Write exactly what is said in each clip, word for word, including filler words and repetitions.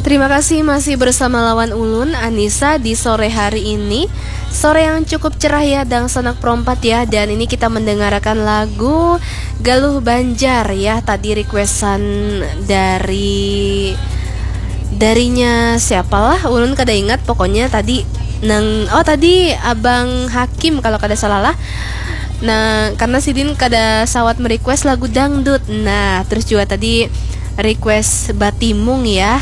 Terima kasih masih bersama lawan ulun, Anissa, di sore hari ini. Sore yang cukup cerah ya, dangsanak perompat ya. Dan ini kita mendengarkan lagu Galuh Banjar ya. Tadi requestan dari, darinya siapalah, ulun kada ingat. Pokoknya tadi nang, oh, tadi Abang Hakim kalau kada salah lah. Nah, karena sidin kada sawat merequest lagu dangdut. Nah, terus juga tadi request Batimung ya.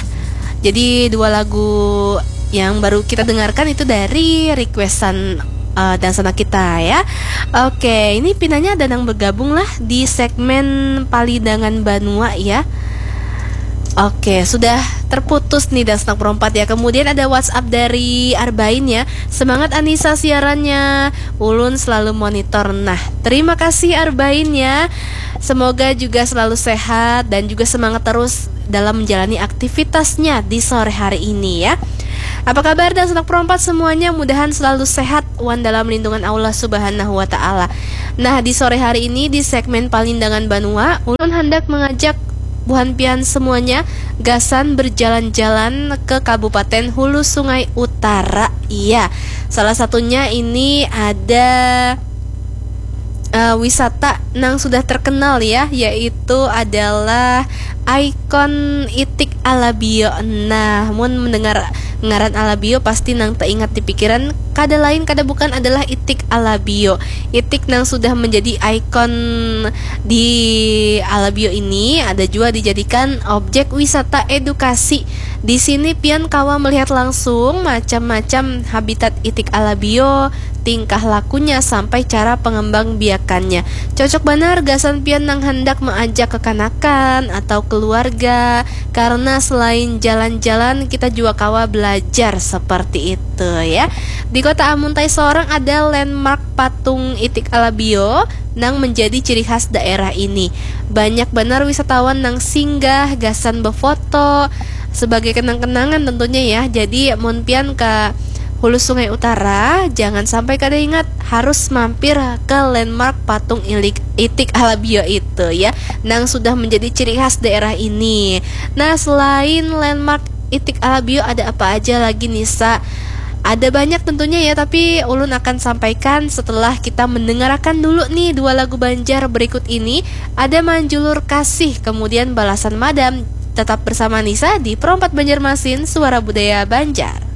Jadi dua lagu yang baru kita dengarkan itu dari requestan uh, dangsanak kita ya. Oke, ini pinanya ada nang bergabung lah di segmen Palidangan Banua ya. Oke, sudah terputus nih dangsanak perompat ya. Kemudian ada WhatsApp dari Arbain ya. Semangat Anissa siarannya. Ulun selalu monitor. Nah, terima kasih Arbain ya. Semoga juga selalu sehat dan juga semangat terus dalam menjalani aktivitasnya di sore hari ini ya. Apa kabar dangsanak perompat semuanya? Mudahan selalu sehat wan dalam lindungan Allah Subhanahu wa Ta'ala. Nah, di sore hari ini di segmen Palindangan Banua, ulun hendak mengajak buhan pian semuanya gasan berjalan-jalan ke Kabupaten Hulu Sungai Utara. Iya, salah satunya ini ada uh, wisata nang sudah terkenal ya, yaitu adalah ikon Itik Alabio. Nah, mun mendengar ngaran Alabio pasti nang teringat di pikiran kada lain kada bukan adalah Itik Alabio. Itik nang sudah menjadi ikon di Alabio ini ada juga dijadikan objek wisata edukasi. Di sini pian kawa melihat langsung macam-macam habitat Itik Alabio, tingkah lakunya sampai cara pengembang biakannya. Cocok banar gasan pian nang hendak mengajak kekanakan atau keluarga, karena selain jalan-jalan kita juga kawa belajar seperti itu ya. Di kota Amuntai seorang ada landmark patung Itik Alabio nang menjadi ciri khas daerah ini. Banyak banar wisatawan nang singgah gasan befoto sebagai kenang-kenangan tentunya ya. Jadi mun pian ke Hulu Sungai Utara, jangan sampai kada ingat harus mampir ke landmark patung ilik Itik Alabio itu ya, nang sudah menjadi ciri khas daerah ini. Nah, selain landmark Itik Alabio ada apa aja lagi Nisa? Ada banyak tentunya ya, tapi ulun akan sampaikan setelah kita mendengarkan dulu nih dua lagu Banjar berikut ini. Ada Manjulur Kasih, kemudian Balasan Madam. Tetap bersama Nisa di Perompat Banjarmasin, Suara Budaya Banjar.